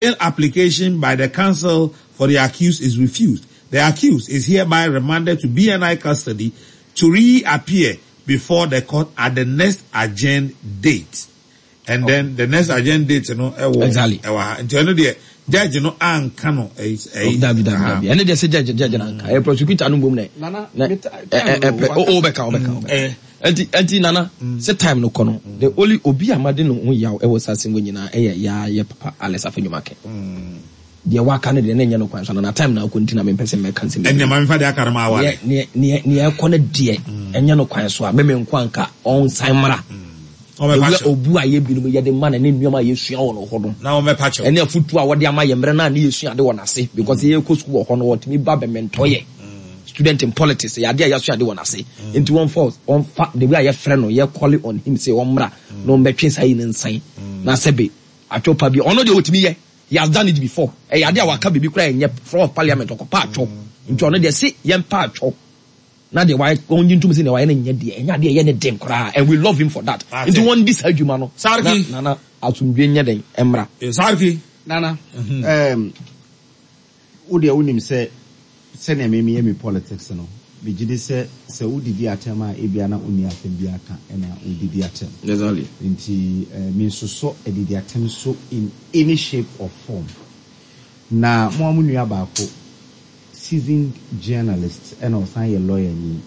Application by the counsel for the accused is refused. The accused is hereby remanded to BNI custody to reappear before the court at the next adjourned date. And then the next adjourned date no ɛwɔ Exactly. ɛwɔ ha. Nti ɛno deɛ judge no anka no ɛyi ɛyi. Dabi dabi dabi. Ɛne deɛ sɛ judge judge na nka. Ɛyɛ prosecutor no mbom na. Nana, Na me ɛ ti- ɛ time no, ɛ pɛ o o bɛka o bɛka o bɛka. Eh. Ɛnti ɛnti Nana sɛ time no kɔ no the only obi a made ne ho yaw ɛwɔ saa asɛm wei nyinaa ɛyɛ yaa yɛ papa Alex Afenyo-Markin. Deɛ waka no deɛ na ɛnyɛ no kwan so Nana time na akɔ nti na mempɛ sɛ mɛka nsɛm Ɛnneɛ bebree. ma memfa deɛ aka no ma aware. Neɛ neɛ neɛ neɛ ɛkɔ no deɛ ɛnyɛ no kwan so a me me nko anka ɔnsan mmra. Ɔmmɛpa The way kyɛw. obu a yɛ binom yɛde ma no ne nneɛma a yɛsua wɔ no hɔ no. Na ɔmmɛpa kyɛw. Ɛne afutuo a wɔde ama yɛ mmerɛ no a ne yɛsua ade wɔ n'ase because yɛkɔ sukuu wɔ hɔ no wɔtumi ba bɛmɛntɔ yɛ. Student in politics ɛyɛ adeɛ a yɛasua ade wɔ n'ase nti wɔmfa wɔmfa the way a yɛfrɛ no yɛ calling on him sɛ ɔmmra na ɔmmɛtwe saa yi no nsan na sɛbe atwɔ pa bi ɔno deɛ ɔtumi yɛ he has done it before ɛyɛ adeɛ a waka biribi koraa ɛnyɛ floor of parliament ɔkɔpa atwɔ nti ɔno deɛ se yɛmpa atwɔ na deɛ wayɛ wɔn gye ntom sɛ deɛ wayɛ no nyɛ deɛ ɛnyɛ adeɛ ɛyɛ ne den koraa and we love him for that nti wɔn di saa adwuma no na nana asomdwe nyɛ den ɛmmra. Sarki. Nana, um, Wo deɛ wonim sɛ sɛnea me meyɛ me politics no, megye di sɛ sɛ wodidi atɛm a ebia na wonni asɛm biara ka na wodidi atɛm. Exactly. Nti mensosɔ adidi atɛm so in any shape or form. Na mo ara mo nua baako, seasoned journalist ɛna ɔsan yɛ lawyer ni,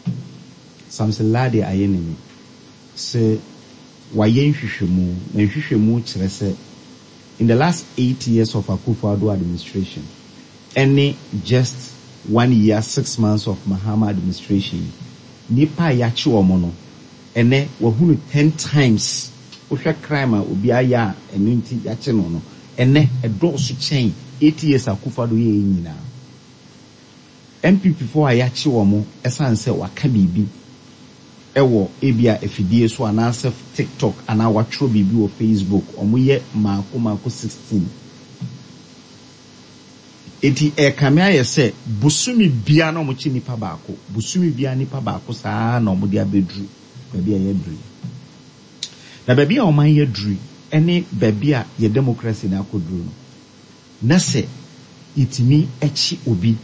Samson Lardy Ayenemi, se wayɛ nhwehwɛmu, na nhwehwɛmu kyerɛ sɛ In the last 8 years of Akufo-Addo administration ɛne just one year 6 months of Mahama administration yi, nnipa a yɛakye wɔn no, ɛnɛ wahunu 10 times. Wohwɛ crime a obi ayɛ a ɛno nti yɛakye no no, ɛnɛ ɛdɔɔso kyɛn 8 years Akufo-Addo yɛɛ nyinaa. NPP foɔ a yɛakye wɔn ɛsiane sɛ waka biribi ɛwɔ ebia afidie so anaasɛ TikTok anaa watwerɛ biribi wɔ Facebook, wɔn yɛ mmaako mmaako 16. Eti ɛkame ayɛ sɛ bosome biara na wɔkye nipa baako, bosome biara nipa baako saa na wɔde abɛduru baabi a yɛaduru yi. Na baabi a ɔman yɛaduru yi ne baabi a yɛ democracy no akɔduru no, na sɛ yɛtumi kye obi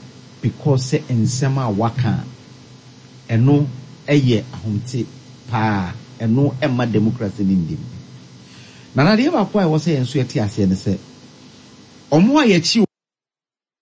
because sɛ nsɛm a waka a, ɛno yɛ ahomte paa, ɛno mma democracy no nnim. Na adeɛ baako a ɛwɔ sɛ yɛn nso yɛte aseɛ ne sɛ, wɔn a yɛkye.